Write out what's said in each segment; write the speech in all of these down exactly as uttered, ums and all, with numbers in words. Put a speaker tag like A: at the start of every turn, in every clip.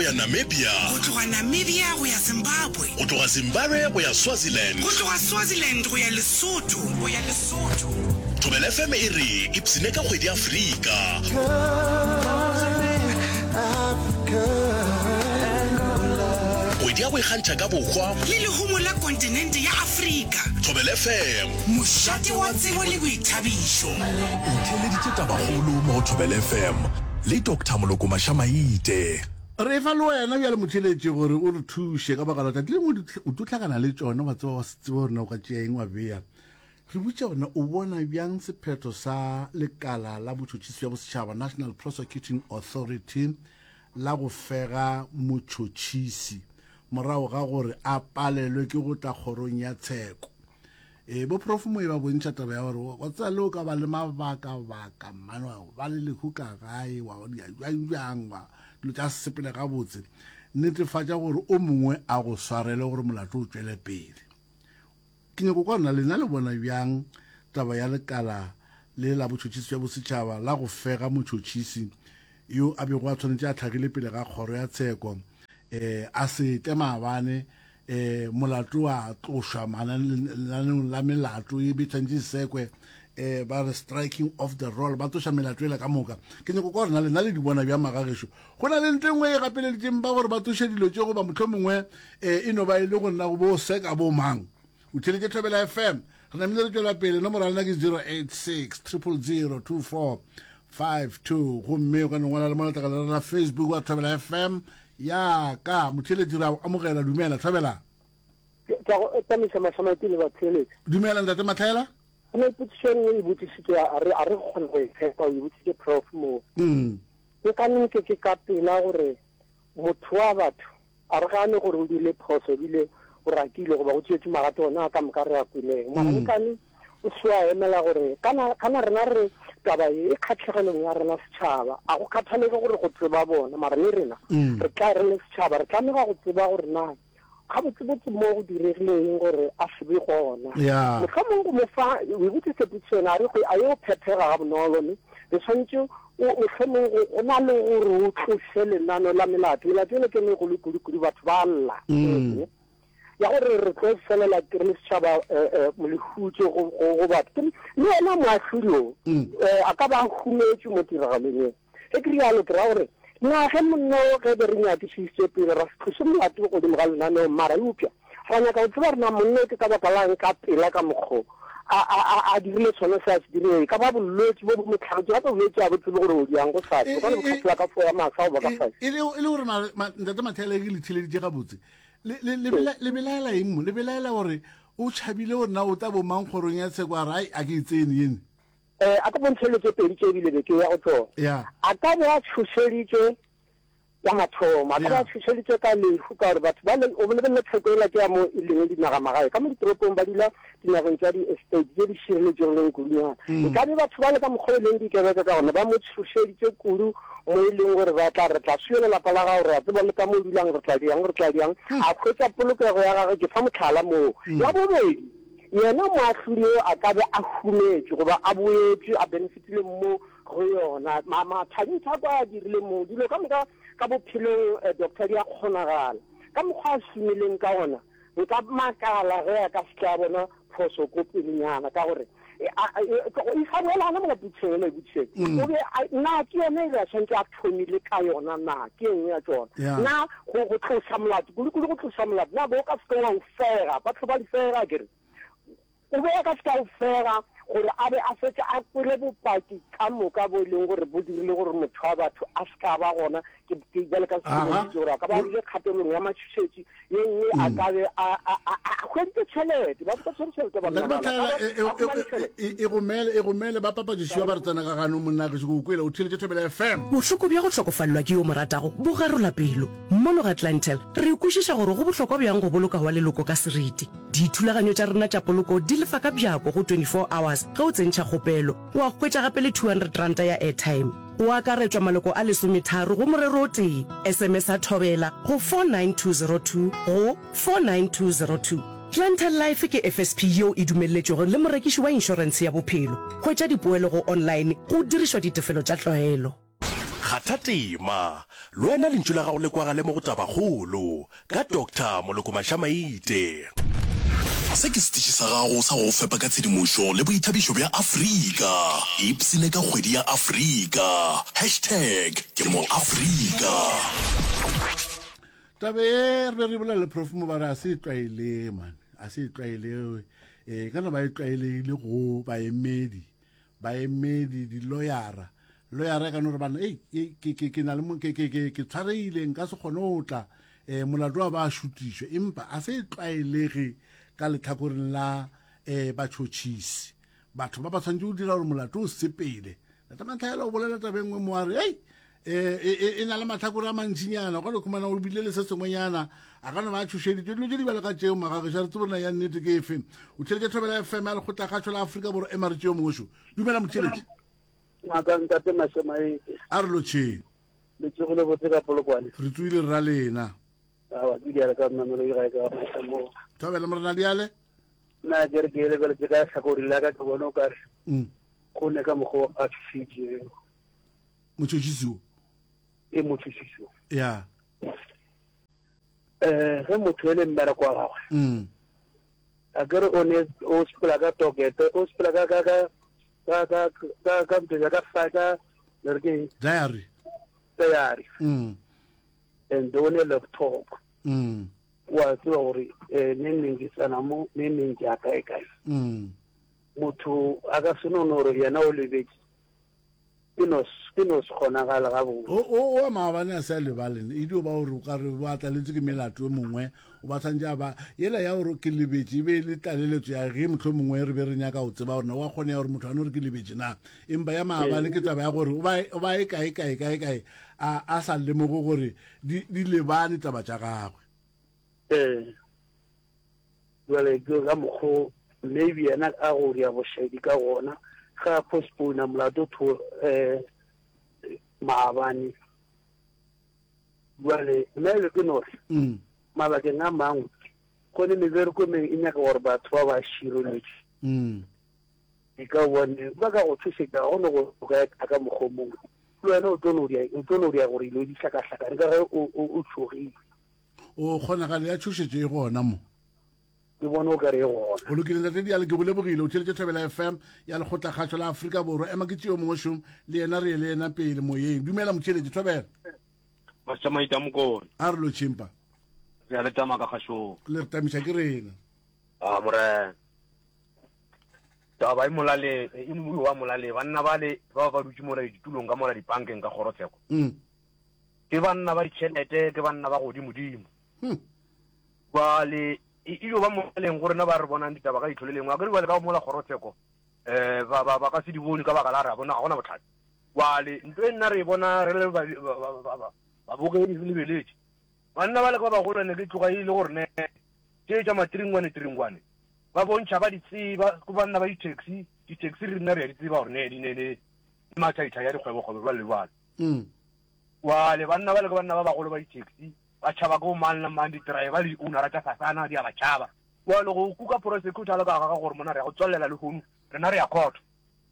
A: ya Namibia.
B: Go tloga Namibia go ya Zimbabwe.
A: Go tloga Zimbabwe go ya Swaziland.
B: Go tloga Swaziland go ya Lesotho. Go ya Lesotho.
A: Thobela F M e re ipshine ka kgwedi ya Afrika. Kgwedi ya go ikgantšha ka bohwa.
B: Le lehumo la kontinente ya Afrika.
A: Thobela F M.
B: Mošate wa tsebo le boithabišo.
A: O theeleditše tabakgolo mo go Thobela F M le Doctor Moloko Mašamaite.
C: Re fa le wena bjale motheeletši gore o re thuše ka baka la tšatši lengwe o tlo hlakana le tšona, wa tseba wa se tsebe gore na o ka tšea eng wa bea. Re botša gore na o bona bjang sephetho sa lekala la botšhotšhisi bja bosetšhaba, National Prosecuting Authority, la go fega motšhotšhisi morago ga gore a palelwe ke go tla kgorong ya tsheko. E, bo Prof Moe ba bontšha taba ya gore wa tseba le o ka ba le mabakabaka mmane wa ba le lehu ka gae wa dia bjang bjang wa dilo tša sepele gabotse, netefatša gore o mongwe a go swarele gore molato o tšwele pele. Ke nyako kwa rena lena le bona bjang taba ya lekala le la botšhotšhisi bja bosetšhaba la go fega motšhotšhisi yo a bego a tshwanetše a hlagile pele ga kgoro ya tsheko, eh, a se tle maabane, eh, molato wa tlošwa lenaneong la melato e be tshwanetše sekwe, eh, ba re striking off the roll, ba tloša melato ela ka moka. Ke nyako kwa rena lena le di bona bjang magagešo? Go na le ntho e nngwe e gapeleditšeng ba gore ba tloše dilo tše, goba mohlomongwe, eh, e no ba e le go nna go bo seka bo mang? O theeletše Thobela F M. Re namile re tšwela pele. Nomoro ya lena ke zero eight six triple zero two four five two. Gomme o ka no ngwala le mo letlakaleng la Facebook wa Thobela F M. Ya ka motheeletši re a o amogela. Dumela Thobela.
D: Ke a go tsamaisa Mašamaite le batheeletši.
C: Dumela ntate Matlhaela.
D: Go na le potšišo e nngwe e botšišitšwe, a re, a re kgone go e tshepa, o e botšitše Prof mo.
C: Mm.
D: Ke ka nnete ke ka pela gore motho wa batho a re gane gore o dirile phoso ebile o rakile goba o tšeetše magato ona a ka moka re a kwileng. Mara
C: Mm.
D: nkane o se wa emela gore kana, kana rena re taba ye e kgatlhegelong ya rena setšhaba, a go kgathalege gore go tseba bona, mara le rena
C: Mm.
D: re tla re le setšhaba re tlamega go tseba gore na gabotsebotse mo go diregileng gore a se be gona.
C: Yeah.
D: Mohlomong go mo fa, o e botsitse potšišo ena, a re go, a yo phethega ga bonolo, ne? Re swanetše o, mohlomong go, go na le gore o tlose lenano la melato. Melato ena ke e megolo kudu-kudu, batho ba lla.
C: Mm.
D: Ya gore re tlo felela ke re le setšhaba, eh, eh, lehutšo go, go, go batho. Ke, le yena moahlodi o,
C: Mm.
D: eh, a ka ba a humetše mo tiragalong e. Ge ke rialo, ke ra gore na ge monna o ge be re nyakišitše pele ra se tlose molato godimo ga lenaneo, mara eupša ra nyaka go tseba rena monna o ke ka baka lang ka pela ka mokgo a, a, a, a dirile sona se a se dirileng. E ka ba bolwetši bo bo mo tlhagetše, gape bolwetši a bo tsebe gore o diang go sase,
C: E,
D: o ka no
C: e,
D: bo tlhasela ka fo ya masa goba ka
C: e,
D: fase.
C: e le, e le gore ma, ma, ntate Matlhaela ke le theeleditše gabotse. Le, le, le bela, le belaela eng mo? Le belaela gore o tšhabile gore na o tla bo mang kgorong ya tsheko, a re, ai, a ke e tsene yene.
D: Eh, a ka bontšha dilo tše pedi tše ebile be ke ya go tšona.
C: Yeah.
D: A ka be a tšhošeditšwe ya mathomo, a ka be a
C: Yeah.
D: tšhošeditšwe ka lehu, ka gore batho ba le, o lebelele tsheko ela ke ya mo e leng dinagamagae, ka mo ditoropong ba dula dinageng tša di-estate tše di šireletšegileng kudunyana.
C: Mm.
D: E ka be batho ba le ka mokgwa e leng dikebeka ka gona, ba mo tšhošeditše kudu mo e leng gore ba tla re tla swiela lapa la gago, re a tseba le ka mo o dulang, re tla diang, re tla diang.
C: Mm.
D: A hwetša polokego ya gagwe, ke fa mohlala moo.
C: Mm.
D: Ya bobedi, yena moahlodi yo a ka be a humetše goba a boetše a benefitile mo go yona. Ma-, mathabintshako a dirile moo, dilo ka moka ka bophelong, eh, doctor, di a kgonagala. Ka mokgwa a šomileng ka ona, nka makala ge a ka se tla bona phoso ko pelenyana, ka gore e, a, a, e, e sa boela gona mola potšišong ela e botšišeng.
C: Mm.
D: O be a, na ke yona e be a swanetše a thomile ka yona, na ke e nngwe ya tšona?
C: Yeah.
D: Na go, go tloša molato, kudu-kudu go tloša molato, na bo o ka se ke wa o fega? Batho ba di fega, ke re. O be a ka se ka o fega gore a be a fetše a kwele bopaki ka moka bo e leng gore bo dirile gore motho wa batho a se ka ba gona. Ke, ke bjale ka
C: Aha.
D: se gore a ka ba a bile kgatelong ya matšhošetši ye nngwe, a
C: Mm.
D: ka be a, a, a, a hweditše tšhelete. Batho ba tshwere tšhelete ba
C: Ntate
D: nna bala.
C: Matlhaela,
D: Ka ba
C: e, e,
D: a humane
C: e,
D: tšhelete.
C: e, e gomele, e gomele ba papatšišiwa ba re tsena ka gano monna gešo, ke o kwele o theeletše Thobela F M.
E: Bohloko bja go hlokofalelwa ke yo mo ratago bo garola pelo. Mono ga Clientele re kwešiša gore go bohlokwa bjang go boloka wa leloko ka seriti. Dithulaganyo tša rena tša poloko di lefa ka bjako go twenty-four hours ge o tsentšha kgopelo. Wa hwetša gape le two hundred ranta ya airtime. Go akaretšwa maloko a lesometharo go morero o tee. S M S a Thobela go four nine two zero two go four nine two zero two. Clientele Life ke F S P yeo e dumelletšwego le morekiši wa inšorentshe ya bophelo. Hwetša dipoelo go online go dirišwa ditefelo tša tlwaelo.
A: Kgatha tema, le wena lentšu la gago le kwagale mo go Tabakgolo ka Doctor Moloko Mašamaite. Se ke setiši sa gago sa go go fepa ka tshedimošo le boithabišo bja Afrika. Ipshine ka kgwedi ya Afrika. Hashtag ke mo Afrika.
C: Taba ye re be re bolela le Prof mo ba re a se e tlwaelege man, a se e tlwaelege. E ka no ba e tlwaelegile go baemedi, baemedi, diloyara. Loyara e ka no re bana, ei, ke, ke, ke, ke na le mo, ke, ke, ke, ke tshwaregile, nka se kgone go tla, eh, molato wa ba šutišwe. Empa a se e tlwaelege ka lehlakoreng la, eh, batšhotšhisi. Batho ba ba tshwanetse go dira gore molato o sepele. Tata Matlhaela o bolela taba e nngwe mo a re, ei, eh, e, e, e na le mahlakore a mantšinyana, o ka no khumana o bile le se sengwenyana, a ka no ba a tšhošeditšwe. Dilo tše di bjalo ka tšeo, magagešu, a re tsebe gore na ya nnete ke efe. O theeletše Thobela F M ya Lekgotlakgašo la Afrika Borwa, ema re tšeo mongwe šo. Dumela motheeletši.
F: Ngaka ntate Mašemaete.
C: A re lotšheng.
F: Le tsogile botse ka Polokwane.
C: Re tsogile rra lena.
F: Awa, ke diale ka mmamelo e gae ka mo.
C: Thobela morena diale.
F: Nna ke re ke lebeletse ka tlhakori la ka ke bone o kare.
C: Mm.
F: Go ne ka mokgwa a tshitse.
C: Motšhotšhisi o.
F: E motšhotšhisi o.
C: Ya.
F: Eh, ge motho e le mmereko wa gagwe.
C: Mm.
F: A ke re o ne o sepela ka tokete, o sepela ka ka ka ka ka ka ka ntho ya ka fa ka le re ke
C: diary.
F: Diary.
C: Mm.
F: And o ne laptop.
C: Mm.
F: Wa tseba gore, eh, neng neng ke tsena mo, neng neng ke ya kae kae.
C: Mm.
F: Motho a ka se no no gore yena o lebetse. Ke no s-, ke no se kgonagale gabotse.
C: O, o, o maabane a se a lebale, e dio ba gore o ka re ba tlaletswe ke melato e mongwe, o ba tshwanetse a ba, yela ya gore ke lebetse, e be e le tlaleletso ya ge mohlomongwe re be re nyaka go tseba gore na wa kgone ya gore motho a no re ke lebetse na. Empa ya maabane ke taba ya gore o ba, o ba e kae, kae, kae, kae, a, a sa lemoge gore di, di lebane taba tša gagwe.
F: Ee. Jwale ke ka mokgo maybe yena a go ria bošaedi ka gona, ge a postpone molato tho, eh, maabane. Jwale nna e ke no re,
C: Mm.
F: mabakeng a mangwe, go ne mebereko e mengwe e nyaka gore batho ba ba šireletše.
C: Mm.
F: E ka bone ba ka go tshošetša, ga go ne go ka eta ka mokgwa o mongwe. Le wena o tlo no dia, o tlo no dia gore dilo di hlakahlakane ka ge o, o, o tšhogile.
C: O kgonagalo ya tšhošetšo e gona mo.
F: Ke bone o ka re e gona.
C: O lokile ntate Diale, ke go lebogile. O theeletše Thobela F M ya Lekgotlakgašo la Afrika Borwa. Ema ke tšeo mongwe šom, le yena re ye le yena pele moyeng. Dumela motheeletši, Thobela.
G: Mašamaita Mokone.
C: A re lo tšhimpa.
G: Re a le tama ka kgašong.
C: Le re tamiša ke rena.
G: A morena. Taba e molaleng, e moyo wa molaleng. Banna bale ba ba dutše mola ditulong ka mola dipankeng ka kgorotsheko.
C: Mm.
G: Ke banna ba ditšhelete, ke banna ba godimodimo.
C: Hmm.
G: Bale, e, e yo ba molaleng gore na ba re bonang ditaba ka leihlo le lengwe. Akere bjale ka mola kgorotsheko, eh, ba, ba, ba ka se di bone ka baka la re a bona ga gona bohlatse. Bjale, ntho e nna re e bona re le ba, ba, ba, ba, ba, babogedi re lebeletše. Banna ba le ka ba bagolo ne ke tloga e le gore ne tše tša matringwane tringwane ba bontšha ba di tseba, ke banna ba di-taxi, di-taxi re nna re a di tseba gore ne di ne le mathaithai ya dikgwebokgwebo jwale le jwale.
C: Mm.
G: Bjale banna ba le ke banna ba bagolo ba di-taxi, ba tšhaba ke bo mang le mang, di-driver le di-ownera tša fasana di a ba tšhaba. Bjale go kuka prosecutor le ka ga gore mona re ya go tswelela le hono, rena re ya court.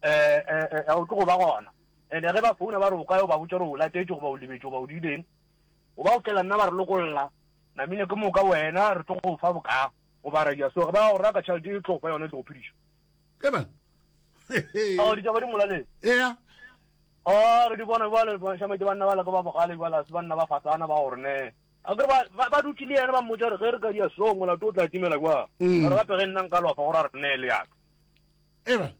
G: Eh, eh, eh, o tlo go ba gona. Ene ge ba founa ba re o kae, o ba botša gore o latetše goba o lebetše goba o diileng. O ba o tlela nna ba re lokolla. Namile ke moka wena re tlo go fa boka. Goba ra dia so ge ba go raka tšhelete e tlo go fa yona e tlo go phediša.
C: Ke bana.
G: Ao ditaba di molaleng.
C: Ea.
G: A re di bona bjale, ba šametse banna ba le ka ba bogale bjale, a se banna ba fasana ba gore ne. A ke re ba, ba, ba dutše le yena ba mmotša gore ge re ka dia so molato o tla timela kwa.
C: Mm.
G: Ba re gape ge nna nka lofa gore a re nee le yaka.
C: Eba.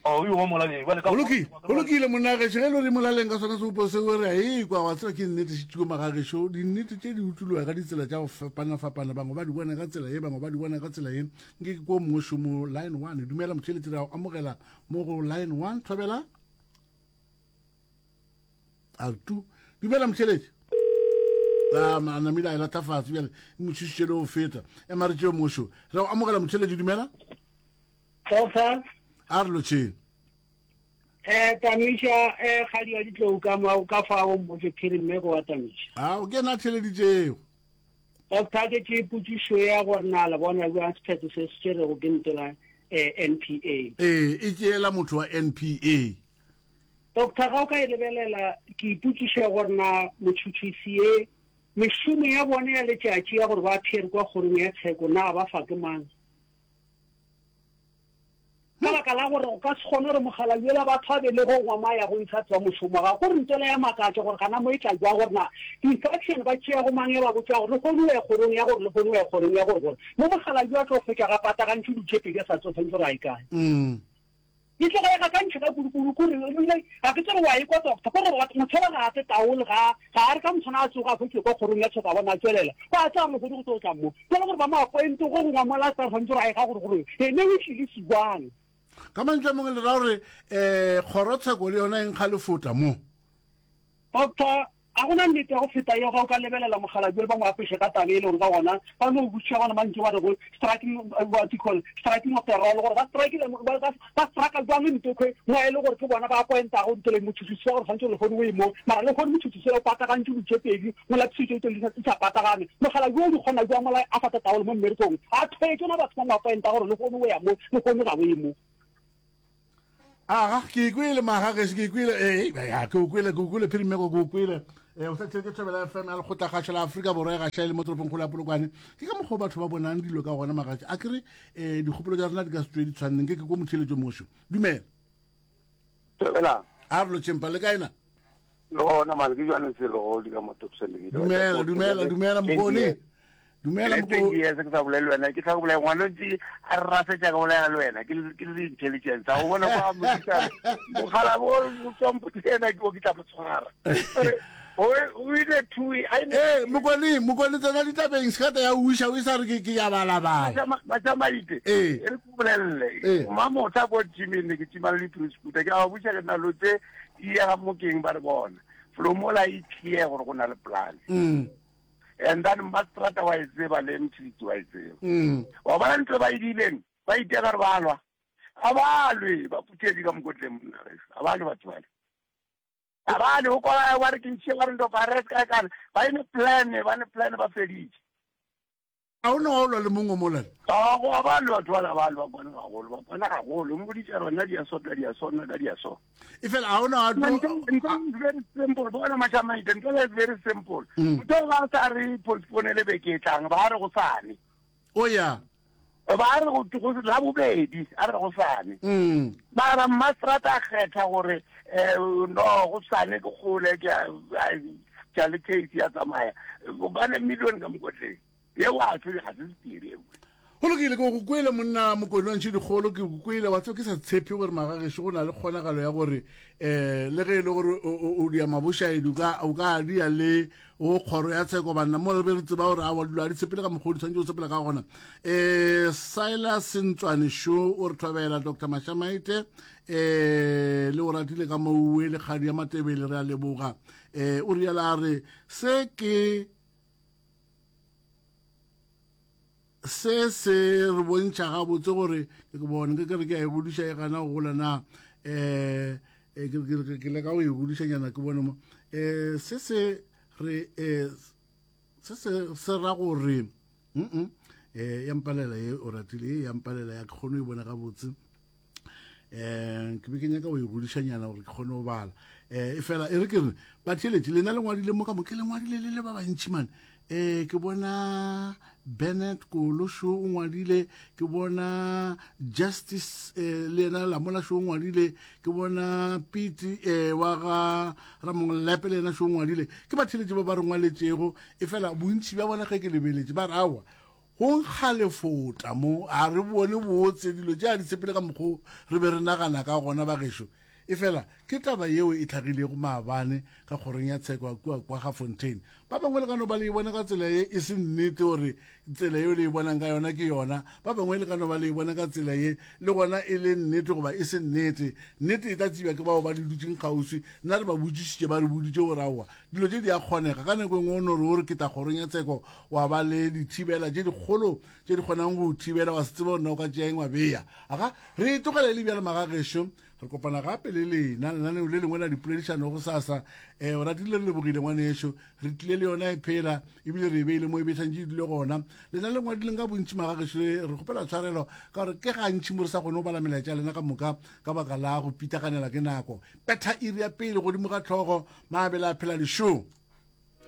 G: Oh, yo molaleng, bjale ka
C: Go lokile, go lokile monna gešo, ge e le gore molaleng ka sona seopo seo re a ekwa, wa tseba ke nnete šitšiko magagešo, dinnete tše di utuloga ka ditsela tša go fapana-fapana, bangwe ba di bona ka tsela ye, bangwe ba di bona ka tsela ye. Nke ke ko mongwe šomo line one. Dumela motheeletši, re a go amogela mo go line one. Thobela. A tu. Dumela motheeletši. A, ma, namile a e lata fatshe bjale, e mo tšhošitše le go feta. Ema re tšeo mongwe šo. Re a go amogela motheeletši, dumela.
H: Doctor.
C: A re lotšheng.
H: Eh, Tamiša, eh, kgadi ya ditlou ka mo, ka fao mmotse phiri mme go wa Tamiša.
C: Ao, ke yena a theeleditšego.
H: Doctor, ke tše potšišo ya gore na le bona bjang sephetho se se tšerego ke ntlo la, eh, N P A.
C: Ee, e tšeela motho wa N P A.
H: Doctor, ga o ka e lebelela, ke ipotšiša gore na motšhotšhisi ye, mešomo ya bona ya letšatši ya gore ba appear kwa kgorong ya tsheko, na ba fa ke mang? Ka baka la gore o ka se kgone gore mokgalabje yola batho a belego ngwama ya go ntsha tswa mošomo ga gore ntwela ya makatša gore gana mo e tla jwa gore na instruction ba tšea go mang ya ba botša gore lehono o ya kgorong ya gore lehono o ya kgorong ya gore gore mo mokgalabje a tlo fetša ga patagantšwe dilo tše pedi a sa tsebe tshwanetse gore a ye kae. E tloga e gakantšha ka kudu-kudu kore ebile ga ke tsebe wa e kwa doctor kore batho motho yola ga a tle taole ga ga a re ka motshwana a tsoga a hwetše kwa kgorong ya tsheko a bona a tšwelela ba tla re lehodu go tlo tla mo jwale gore ba mo appointe go gongwe mola a sa tshwanetse gore a ye ga gore gore ene o tlile sibang.
C: Ka mantšu a mangwe le ra gore um kgorotsheko le yona e nkga lefota mo.
H: Doctor, Ga go na nnete ya go feta yeo ge o ka lebelela mokgalabje ba mo apeše ka taba e le gore ka gona ba no botšiša gona mantšu ba rego striking what you call striking of the roll gore ba strikile ba ba ba straka jwang ntokwe mo e le gore ke bona ba appointago ntole motšhotšhisi wa gore tshwanetse lehono o ye mo mara lehono motšhotšhisi o patagantše dilo tše pedi mola thušo tše di sa patagane mokgalabje o di kgona jwang mola a sa tataole mo mmerekong a thwetše na batho ba mo appointa gore lehono o ya mo lehono ga o ye mo.
C: Aga, ke ikwele maga gešo, ke ikwele, ee, ya, ke o kwele, ke o kwele, Phirimego, ke o kwele. Eh, o sa tšhelete Thobela F M ya Lekgotlakgašo la Afrika Borwa e gaša e le mo toropongkgolo ya Polokwane. Ke ka mokgwa o batho ba bonang dilo ka gona magatše. A ke re, eh, dikgopolo tša rena di ka se tšwe di tshwaneng, ke ke ko motheeletšo mošo. Dumela.
I: Thobela.
C: A re lotšhempa, le kae na?
I: Le gona mane ke jwane selo di ka mo Topson le
C: Dumela, dumela, dumela Mokone. Dumela
I: Mokone. Yes, ke sa bolele wena, ke tla go bolaya ngwana ntse a re rasetsa ka bolaya le wena, ke ke le intelligence. A o bona kwa motsa. Mogala bo o tswa mpotse ke o ke tla mo tshwara. O o ile two
C: I Eh, Mokone, Mokone tsena ditabeng sekata ya uša o sa re ke ke ya balabala.
I: Matšamaite.
C: Eh.
I: E re ke bolelle. Mma motha ko gyming ne ke tšima le di-scooter ke a ba botša ke nna lo tse di ya ga mokeng ba re bona. Flomola e clear gore go na le plan.
C: Mm.
I: And then Mastrata wa e tseba le Mthiti wa e tseba.
C: Mm.
I: Wa bona ntho ba e dileng, ba iteka re ba lwa. A ba lwe, ba phuthedi ka mokotleng monna gešo. A ba lwe batho bale. A ba lwe, o kwa ba re ke ntšhe ba re ndo ba re ka kana. Ba ene plan, ba ne plan ba feditše.
C: A o ne wa lwa le mongwe mola?
I: A go a ba lwa batho bala ba lwa bona gagolo, ba bona gagolo. Mo boditše rona di a sotla, di a sona ka di a so.
C: E fela a o ne wa
I: tlo Ntho very simple, bona Mashamaite, ntho e very simple. Ntho ba sa re postpone le beke e tlang, ba re go sane.
C: O ya.
I: Ba re go go la bobedi, a re go sane.
C: Mm.
I: Mara Mastrata a kgetha gore eh no go sane ke kgole ke a le case ya tsamaya. Ba ne million ka mokotleng. Yeo a se ga se sephiri eo.
C: Go lokile, ke go kwele monna Mokone wa ntšhe dikgolo, ke go kwele wa tseba ke sa tshepe gore magagešo go na le kgonagalo ya gore eh le ge e le gore o dia mabošaedi o ka o ka dia le go kgoro ya tsheko banna mo re be re tseba gore awa dilo a di tshepele ka mokgwa o di tshwanetse go tshepela ka gona. Eh Silas Ntswane šo o re thobela Doctor Mashamaite eh le o ratile ka mouwe le kgadi ya Matebele re a leboga. Eh o riala a re se ke se se re bontšha gabotse gore ke bone ke re ke a e godiša e gana go gola na eh ke ke ke leka go e godišanyana ke bone mo eh se se re eh se se se ra gore mm eh ya mpalela ye o ratile ye ya mpalela ya ke kgone go e bona gabotse eh ke be ke nyaka go e godišanyana gore ke kgone go bala eh e fela e re ke re batheeletši lena le ngwadile mo ka mo ke le ngwadile le le ba bantši mane eh ke bona Bennett Kolosho o ngwadile, ke bona Justice eh, le yena Lamola sho o ngwadile, ke bona Pete eh, wa ga Ramonglepe le yena sho o ngwadile. Ke batheeletši ba ba re ngwaletšego e fela bontši bja bona ge ke lebeletše ba re aowa go nkga lefota mo a re bone botse dilo tše a di tshepele ka mokgwa re be re nagana ka gona bagešo. E fela ke taba yeo e tlhagilego maabane ka kgorong ya tsheko kua kwa ga Fontaine. Ba bangwe le ka no ba le e bona ka tsela ye e se nnete gore tsela yeo le e bonang ka yona ke yona. Ba bangwe le ka no ba le e bona ka tsela ye le gona e le nnete goba e se nnete. Nnete e tla tsebja ke bao ba di dutšeng kgauswi. Nna re ba botšišitše ba re boditše gore aowa dilo tše di a kgonega. Ka nako e nngwe o no re o re ke tla kgorong ya tsheko wa ba le dithibela tše dikgolo tše di kgonang go thibela wa se tsebe gore na o ka tšea eng wa beya. Aga re e tlogele le bjale magagešo. Re kopana gape le lena lenaneo le lengwe la dipoledišano go sasa. Um o ratile re lebogile ngwanešo. Re tlile le yona e phela ebile re e beile mo e bešantše e dule gona. Lena le ngwadileng ka bontši magagešo le re kgopela tshwarelo ka gore ke gantši mo re sa kgone go bala melaetša ya lena ka moka ka baka la go pitaganela ke nako. Petha iri ya pele godimo ga hlogo, mabele a phela lešong.